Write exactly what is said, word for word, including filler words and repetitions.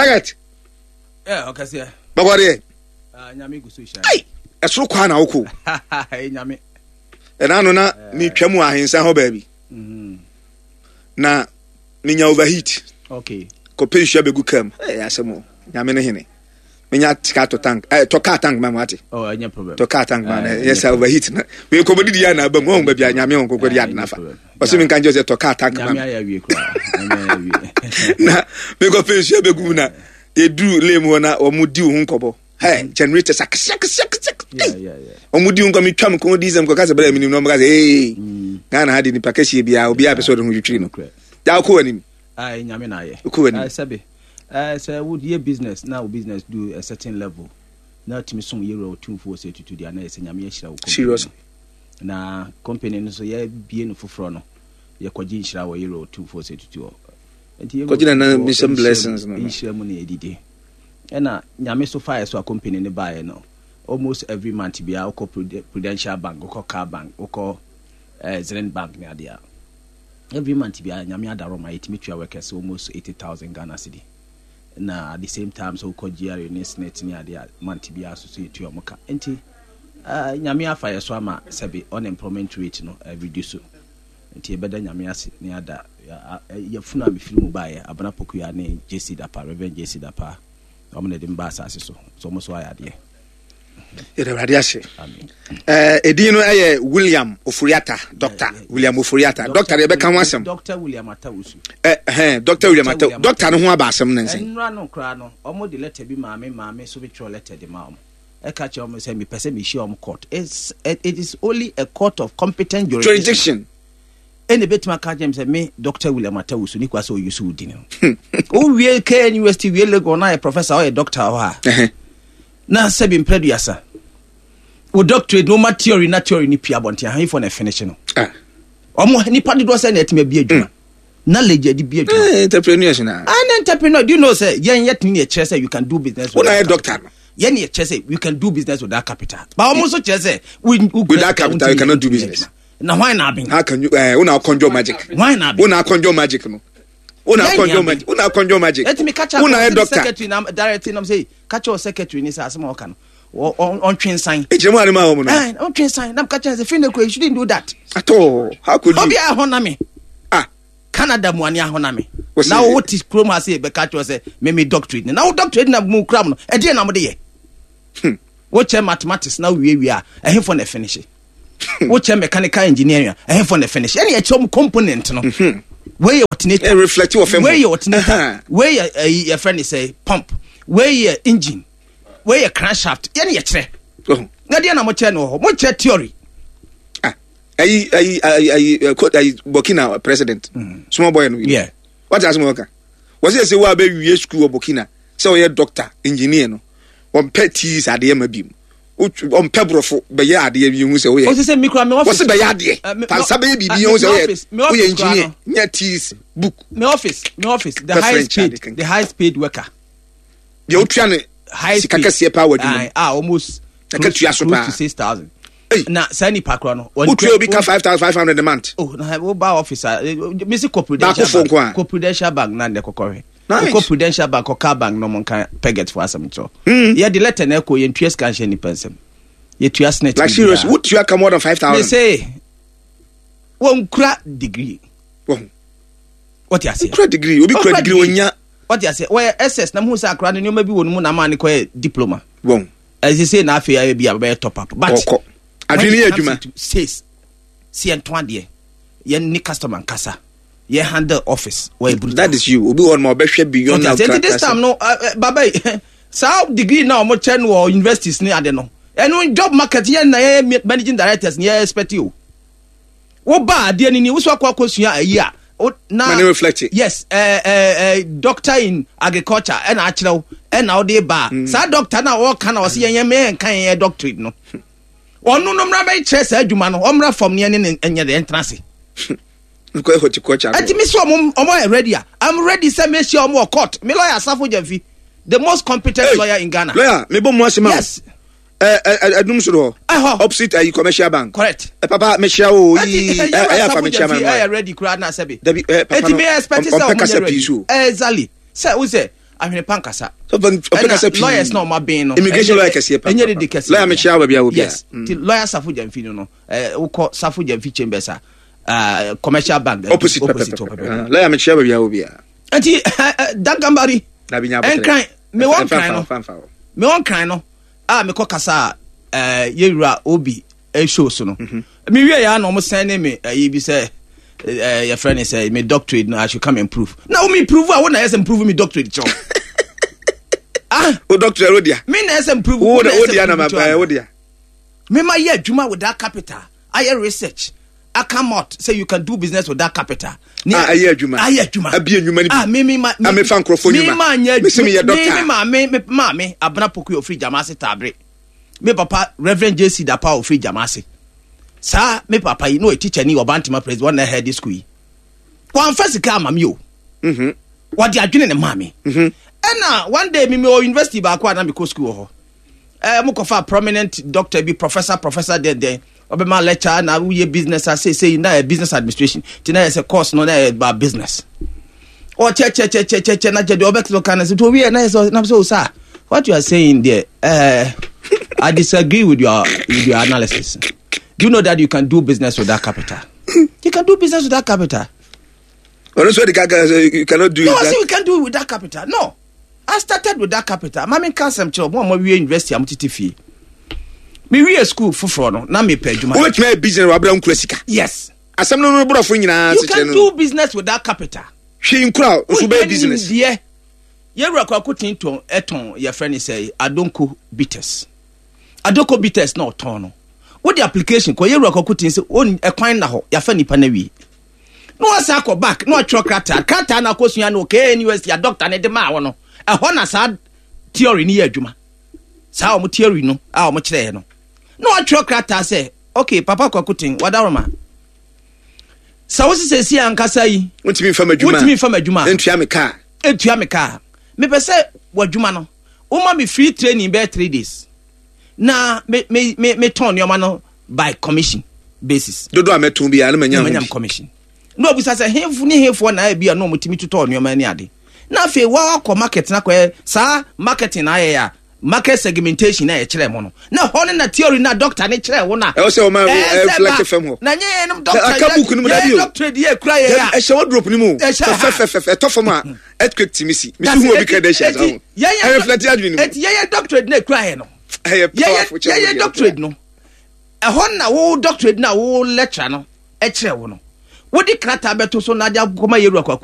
Target. Yeah, ɔkɛseɛ. Bɔkɔ deɛ. Ah, Nyame gu so hyɛ. Ai, ɛsoro kwaa na wokɔ. Nyame. Ɛna no na metwa mu ahensa hɔ baabi. Mm-hmm. Na menya overheat. Okay. Kɔpɛ nsuo abɛgu kaa mu. Ɛyɛ asɛm o. Nyame ne hene. Menya sika tɔ tank. Eh, tɔ kaa tank ma mu ate. Oh, ɛnyɛ problem. Tɔ kaa tank ma na Eh, ɛyɛ sɛ overheat na. Me kɔbɔ didi ya na aba mu. Wɔn baabi a Nyame wɔn kɔkɔ di ade nafa. Ɔsɛ mi nka nkyɛn sɛ tɔ kaa tank ma Nyame me. ayɛ awie koraa. Nyame ayɛ awie. Na mekɔpɛ nsuo abɛgu mu na yɛduru lane mu hɔ na wɔn di wo ho nkɔbɔ. Hey, generators akɛseɛ akɛseɛ akɛseɛ. Yeah, Hey. yeah, yeah. Wɔn di ho nkɔ metwa me kɔn di sɛm kɔka sɛ bɛrɛ mi nim na wɔn ka sɛ ee Ghana ha de nipa kɛseɛ biara obiara pɛ sɛ ɔde ho twitwiri no. Nokorɛ. Gya wokɔ w'anim. Ai, Nyame na ayɛ. Wokɔ w'anim. Ai, sɛbe. Eh, sɛ woyɛ business na wo business do a certain level na tumi som yɛwura Otumfoɔ sɛ tutu deɛ, na yɛ sɛ Nyame ahyira wo company Serious. no. Na company no so yɛbie no foforɔ no, yɛkɔgye nhyira wɔ yɛwura Otumfoɔ sɛ tutu hɔ. Nti yɛwura Kɔgye nana Otumfoɔ mission nhyira blessings mu- no no. nhyira mu na yɛdidi. Ɛna Nyame so faeɛ so a company no baeɛ no, almost every month biara wokɔ Prud- Prudential Bank, wokɔ Car Bank, wokɔ eh, Zenith Bank ne adeɛ a, every month biara Nyame adaro ma yɛtumi tua workers almost eighty thousand Ghana cedi. Na at the same time so wokɔ G R A ne SSNIT ne adeɛ a, month biara so so yɛtua ɔmo ka. Nti uh, Nyame afa yɛ so ama sɛbe unemployment rate no uh, reduce. Nti yɛbɛda Nyame ase ne ada yɛfunu a mefiri mu baeɛ, Abena Pokua ne J C Dapa, Reverend J C Dapa, ɔmo na ɛde mba asase so so ɔmo so ayɛ adeɛ. Yɛde Awurade ase. Amen. Ɛɛ, edin no ɛyɛ William Oforiata, Doctor William Oforiata. Doctor deɛ, ɛbɛka ho asɛm. Doctor William Atawusu. Ɛ ɛhɛn, Doctor William Ata. Doctor no ho aba asɛm ne nsɛn. Ɛnura no koraa no, ɔmo de letter bi maame maame so bi twerɛ letter de ma ɔmo, ɛka kyerɛ ɔmo sɛ mepɛ sɛ mehyia ɔmo court. It's, it, it is only a court of competent jurisdiction jurisdiction. Ɛna ebɛtumi aka kyerɛ me sɛ me Doctor William Atawusu ne kwa sɛ ɔyi so wo din no. Wowie K N University, wie Legon na yɛ professor, ɔyɛ doctor hɔ a, Ɛhɛn. na sɛbi mprɛduasa wo doctorate no, woma theory na theory no pia abɔnten ahemfo na ɛfinish no. Ah. Ɔmo nipa dodoɔ sɛ na ɛtumi abi adwuma, knowledge adi bi adwuma. Eh, entrepreneurs na. An entrepreneur, do you know sɛ yɛn yɛ tumi yɛ kyerɛ sɛ you can do business Wo na yɛ without doctor capital. no. Yɛn yɛ kyerɛ sɛ you can do business without capital, but ɔmo nso kyerɛ sɛ we- we- Without capital, you cannot do business. Na hwan na aben? How can you, eh, wo na conjure magic? Hwan na aben? Wo na conjure magic no. Wo na Yɛn conjure ni magic. Wo na conjure magic. Ɛtumi kakyɛ Wo na yɛ doctor. Secretary na director nam sɛ kakyɛ wɔ secretary ni sɛ asɛm a ɔka no, ɔ- ɔ- ɔntwe nsan. Ekyir mu anima wɔn no. Ɛn, ɔntwe nsan nam kakyɛ sɛ fi ne kura, you shouldn't do that. At all. How could you? Obi a ɛhɔ na me Ah. Canada mu ani ahɔ me. Wɔsi- Na wo te kurom ha sɛ bɛka kyerɛ sɛ me me doctorate ni, na wo doctorate na mu kura mu no, ɛdeɛ na mo de yɛ? Hmm. Wokyɛ mathematics na wie wie a, ɛhefo na finish? Wokyɛ mechanical engineering a, ɛhefo na finish? Ɛne yɛkyerɛ mu component no, wei yɛ alternator. Eh, reflect wɔ fam hɔ. Wei yɛ alternator. Aha. Wei yɛ ɛyi, yɛfrɛ ne sɛ pump, wei yɛ engine, wei yɛ crankshaft. Yɛne yɛkyerɛ. Oh. Na deɛ na mokyerɛ no wɔ hɔ, mokyerɛ theory. Ah. Ayi ayi ayi ayi eh, ko- ayi Burkina president. Small boy no. Yeah. What asem wɔka? Wɔsɛ sɛ wo a bɛwie school wɔ Burkina sɛ ɔyɛ doctor, engineer no. Wɔmpɛ teas adeɛ ma bi mu. Wotw- Ɔmpɛ borɔfo bɛyɛ adeɛ bi hu sɛ woyɛ. O sɛ mi kura mi office Wɔsɛ bɛyɛ adeɛ. Eh, me- Pansa bɛyɛ me- biribi hu sɛ me woyɛ office- me woyɛ office koraa engineer. no. Nyɛ teas book. Me office me office the Pɛ highest French ade paid kankan. the highest paid worker. Deɛ wotua ne Highest sika paid. kɛseɛ paa wɔ adwuma mu. Aye, ah, almost Na close, katua so close paa. to six thousand. Hey. Na saa nipa korɔ no, Wotua obi ka five thousand five hundred a month. Oh, na wo ba office a, mesi kɔ Prudential Baako fo nko a. Bank, kɔ Prudential Bank na ndɛ kɔkɔhwɛ. Nice. Wokɔ Prudential Bank, kɔ Car Bank na ɔmo nka peget fo asɛm kyerɛ. Hmm. Yɛde letter na ɛkɔ, yɛntua sika nhyɛ nipa nsɛm, yɛtua SSNIT. Like serious, wotua ka more than five me thousand. say wɔnkura degree. Wɔn Wɔte aseɛ? Kura degree, obi kura Ɔkura degree onya. Wɔte aseɛ? Wɔyɛ S S na muhu sɛ akora no nneɛma bi wɔ no mu na ama ne kɔyɛ diploma. Wɔn ɛsɛ sɛ na afei ayɛ bi a bɛyɛ top up, but ɔkɔ adwene yɛ adwuma. Sales si yɛn to adeɛ, yɛn ne customer nkasa, yɛn handle office, wɔyɛ brutal. That is you. Obi wɔ hɔ ma ɔbɛhwɛ beyond Wɔte aseɛ? Nti this time no, uh, uh, baba yi, saa degree na wɔn kyɛ no wɔ universities ne ade no, ɛno job market yɛn na yɛyɛ managing directors ne yɛ expect o. Wo ba adeɛ ni ni woso akɔ akɔsua ayi a wo- na Ma ne reflect it. Yes, uh, uh, uh, doctor in agriculture ɛna akyerɛ wo ɛna wode ba a, saa doctor na wɔka na ɔsɛ yɛn yɛn yɛn nka yɛn yɛ doctorate no, ɔno no mmra bɛkyerɛ saa adwuma no, ɔmmra fam ne ɛne ne ɛnyɛ deɛ ɛntena ase. Nkɔ horticulture. Ɛnti mi sɛ ɔmo ɔmo yɛ ready a, I'm ready sɛ mehyia ɔmo wɔ court. Me lawyer Asafo Gyamfi, the most competent Hey, lawyer in Ghana. Lawyer, me bɔ mu ase ma wo. Yes. Ɛ ɛ ɛdum soro hɔ. Ɛhɔ. Opposite ayi Commercial Bank. Correct. Ɛ papa, mehyia wo ɛnti yi. Ɛ ɛyɛ afa mehyia ma ɛyɛ no. Ready koraa na sɛbi. Dabi, ɛ papa ɛnti no mi expect sɛ ɔmpɛ ɔmo kasa nyɛ pii ready. So. Exactly, sɛ o sɛ Ahwene pa nkasa. Ɔpɛ kasa pii. Lawyers na ɔma ben no. Immigration lawyer kɛseɛ pa. Ɛnyɛ dede kɛseɛ. Lawyer, mekyia wo baabi a wɔ bia. Yes, ti Lawyer Safo Gyamfi no no ɛɛ wokɔ Safo Gyamfi Chambers a, uh, Commercial Bank opposite. Opposite. Pɛpɛpɛ, lawyer, mekyia baabi a wɔ bia. Nti Duncan Barry, Nkran, mewɔ Nkran no, mewɔ Nkran no a mekɔ kasa a ɛɛ yɛwura Obi show so no, mewie yɛ a na ɔmo sɛn ne me ɛyi bi sɛ ɛɛ yɛfrɛ ne sɛ me doctorate no, I should come and prove. Na wo mi prove a, wo na yɛ sɛ prove me doctorate kyɛw ah. O doctorate wo dia. Me na yɛ sɛ prove. Wo wo dia na ma ba wo dia. Me ma yɛ adwuma with that capital, ayɛ research, I come out say you can do business with that capital. Ah, ayɛ adwuma. Ayɛ adwuma. Abie nnwuma ni bi. Ah, me me ma. Me fa nkurɔfoɔ nnwuma. Me ma nyɛ. Me sɛ me yɛ doctor. Me me maame me maame Abena Poku ofiri Jamase Tabre. Me papa, Reverend J C Dapa, ofiri Jamase. Saa me papa yi no yɛ teacher ni wɔ Bantama president wɔn na head school yi. Wɔnfa sika ama mi o. Mhm. Wɔde adwene ne maame. Mhm. Ɛna one day mi mi wɔ university baako a na mi kɔ school wɔ hɔ. Ɛɛ mo kɔfa prominent doctor bi, professor professor dɛndɛn, ɔbɛma lecture na woyɛ business a seesei na yɛ business administration, ti na yɛ sɛ course no na yɛ ba business. Ɔkyɛkyɛkyɛkyɛkyɛ na kyɛ deɛ ɔbɛkɛ kan na sɛ to owie na yɛ sɛ na sɛ o sir, what you are saying there, uh, I disagree with your with your analysis. Do you know that you can do business with that capital? You can do business with that capital. Ɔno nso de kaka sɛ you cannot do No, it. I say we can do it with that capital. No, I started with that capital. Maame, nka asɛm kyerɛ mo a mo awie university a mo tete fie. Me wie school foforɔ no na mepɛ adwuma. Wobɛtumi ayɛ business wɔ abira nkura sika. Yes. Asɛm no no borɔfo nyinaa. You can do business with that capital. Hwee nkura nso bɛyɛ business. Deɛ yɛwura Kwako Tintɔn ɛtɔn, yɛfrɛ ne sɛ Adonko Bitters. Adonko Bitters na ɔtɔn no, wode application kɔ yɛwura Kwako Tin sɛ wɔn ɛkwan na hɔ yɛafa nipa na wie na wasan akɔ back na watwerɛ krataa krataa na akɔsua no K N U S T a doctor ne de maa wɔ no ɛhɔ na saa theory no yɛ adwuma, saa wɔn theory no a wɔn kyerɛɛ no, na watwerɛ krataa sɛ, okay, Papa Kwako Tin wadaroma sɛ wo sisɛ si ankasa yi, wontumi nfa ma adwuma. Wontumi nfa ma adwuma. Ntua me kaa. Etua me kaa. Mepɛ sɛ w'adwuma no, woma me free training bɛyɛ three days na me me me me tɔn nneɛma no by commission basis. Dodo a mɛtɔn bi a na manya na ho manya bi. Commission na obisa sɛ hefo ne hefoɔ na ebi a na ɔmo tumi totɔ nneɛma ne ade, na afei wakɔ market na kɔyɛ saa marketing na ayɛ a market segmentation na yɛkyerɛ mo no, na hɔ no na theory na doctor ne kyerɛ wo na ɛwɔ sɛ ɔma ɛsɛ reflect ba- fam hɔ. Na nyɛ yɛn doctor Aka book no mu dabi o. Yɛn doctorate yɛ kura yɛ a ɛhyɛ wardrobe no mu. Ɛhyɛ ha. Fɛfɛfɛfɛ, ɛtɔ fam a earthquake timi si mesi hu obi credentials aho ɛreflect adwene no mu. Eti yɛyɛ doctorate na ekura yɛ no, ɛyɛ yɛyɛ powerful kyɛn yɛyɛ wo deɛ. Doctorate no, ɛhɔ na wo doctorate na wo lecturer no ɛkyerɛ wo no, wode krataa bɛto so na ade akɔma yɛwura Kwako.